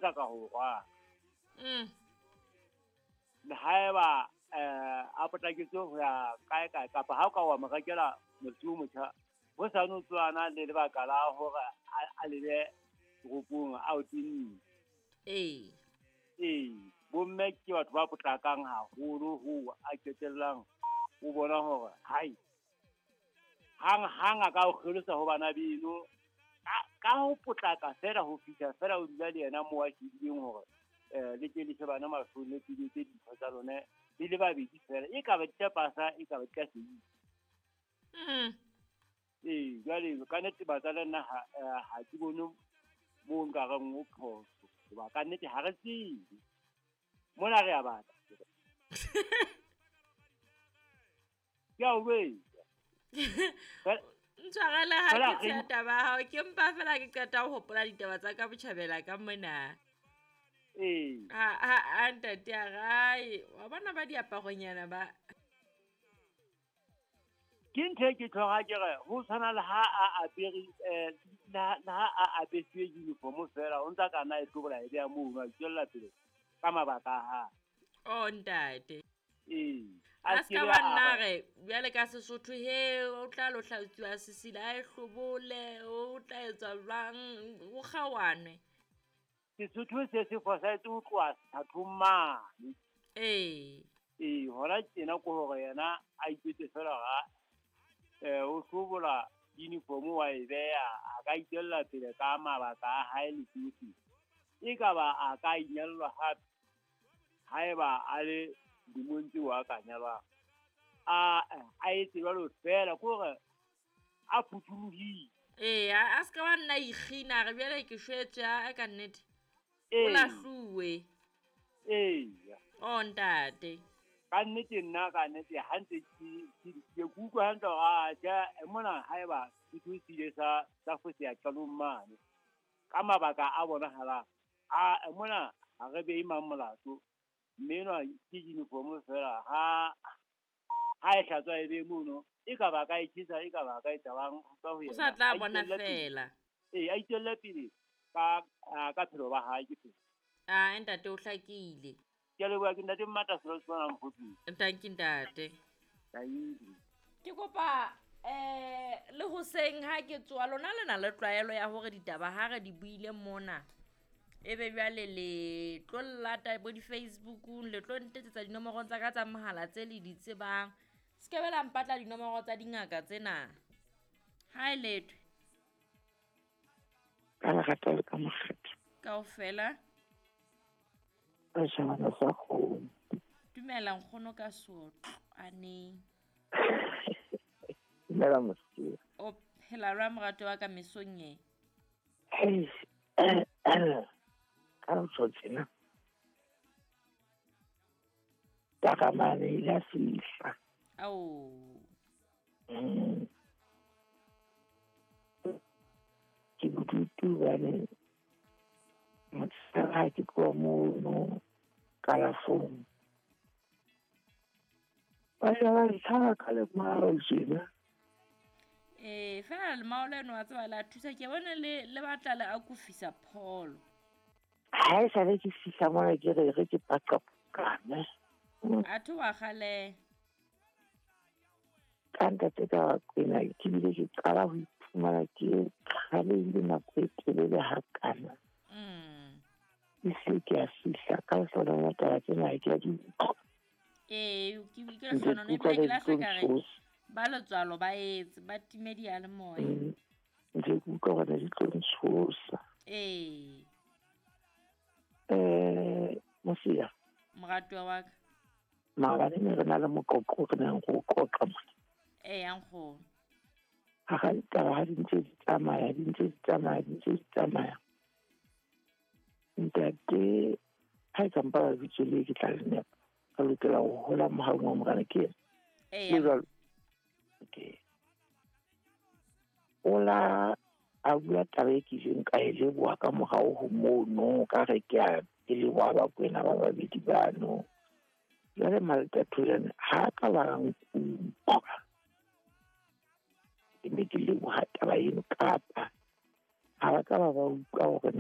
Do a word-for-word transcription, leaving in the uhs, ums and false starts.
potlaka ho rwala. Mm. Le haeba eh a potlaketse ho ya kae kae kapa ha o ka wa mo rekela motho o motjha ho sa no tswana le lebaka la hore a lebe toropong a o tinne. Ee. Ee, bomme ke batho ba potlakang haholo ho a qetellang o bona hore hai hang hang a ka o kgelosa ho bana beno ka ho potlaka fela ho fihla fela o dula le yena moo a shebileng hore eh le ke le shebana mahlong le tse dintho tsa lona le le babedi fela e ka ba di tla pasa e ka ba di tla seisa. Mm. Ee, jwale ka nnete batswadi nna ha ha ke bone moo nka reng o phoso hoba ka nnete ha re tsebe mona re a batla. Ke a o jwetsa. Ntshwarele ha ke tsheya taba ya hao, ke mpa fela ke qeta ho hopola ditaba tsa ka botjhabela ka mona. Ee. Ha ha ha ntate a rae, wa bona ba diaparonyana ba. Ke ntho e ke tjho ke re ho tshwana le ha a apere eh le ha a apesiwe uniform fela o ntsa kana e hlobola e beha mono a tswella pele ka mabaka a hae. Oh ntate. Ee. A ska ba nna re bjale ka Sesotho he o tla lo hlatsiwa sesila a e hlobole o tla etswa jwang o kgawane. Sesotho se se fosahetse ho tloha sethathong mane. Ee. Ee, hona tjena ke hore yena a ipetse fela hore eh o hlobola uniform wa e beha a ka itswella pele ka mabaka a hae le tsohle. E ka ba a ka inyallwa hape haeba a le dilemong tseo a ka nyalwang. A a etse jwalo fela ke hore a phuthulohile. Ee, a ska wa nna ikgina re bjale ke shwetswe a ka nnete. O lahluwe. Ee. Oh ntate. Ka nnete nna ka nnete ha ntse ke ke ke utlwa hantle hore a tjhe mona haeba setho se ile sa sa foseha qalong mane ka mabaka a bonahalang a mona ha re behe mang molato mme enwa ke uniform fela ha ha e hlatswa e be mono e ka ba ka e tjhesa e ka ba ka e tabang ka ho yena. O sa tla bona fela. Ee, a itswelle pele ka ka phelo ba hae ke phelo. Ah, ntate o hlakile. Ke a leboha ke ntate Mmata selo se tshwanang mokgotsing. Thank you ntate. Thank you. Ke kopa eh le hoseng ha ke tsoa lona le na le tlwaelo ya hore ditaba ha re di buile mona ebe jwale le tlo llata bo di-Facebookong le tlo ntetsetsa dinomoro tsa ka tsa mohala tse le di tsebang. Se ke be la mpatla dinomoro tsa dingaka tsena. Ha e lethwe. Ka lerato le ka mokgetho. Kaofela. Ka shebana sa kgomo. Dumela nkgono ka sotho aneng. Dumela mosea. O phela jwang morato wa ka mesong e? Hei, ka ho tjho tjena. Takamane ile a fihla. Ao. Mm. Ke bodutu hobane motshehare ha ke tloha mono kalafong. Ba ile ba ntlhaba ka lemao tjena. Ee, fela lemao leno wa tseba la thusa ke bona le le batla le akofisa pholo. Ha e sale ke fihla mona ke re re ke paqapane. Atho wa kgale. Ka ntate ka kwena ke bile ke qala ho iphumana ke kgalehile nako e telele hakana. Mm. Ehlile ke a fihla ka lehlohonolo la taba tsena ha ke a di utlwa. Ee, ke ke lehlohonolo ebile ke lahla ka re ba letswalo ba etse ba time diyalemoya. Ntse ke utlwa hore di tlo ntshosa. Ee. Eh, mosea. Moratuwa wa ka. Maobane ne re na le moqoqo re neng re o qoqa mona. Ee, nkgono. Hara ditaba ha di ntse di tsamaya, di ntse di tsamaya, di ntse di tsamaya. Ntate ha e ka mpa lebitso le ke tla le nepa. Re lokela ho hola mohaung wa Morena ke yena. Ee. Le jwalo. Okay. O la a bua taba e ke ileng ka e leboha ka morao ho mono ka re ke a ke leboha Bakwena ba babedi bano. Jwale Maltatolane ha ka ba nkutlwa. Ke ne ke leboha taba eno kapa ha ba ka ba ba utlwa hore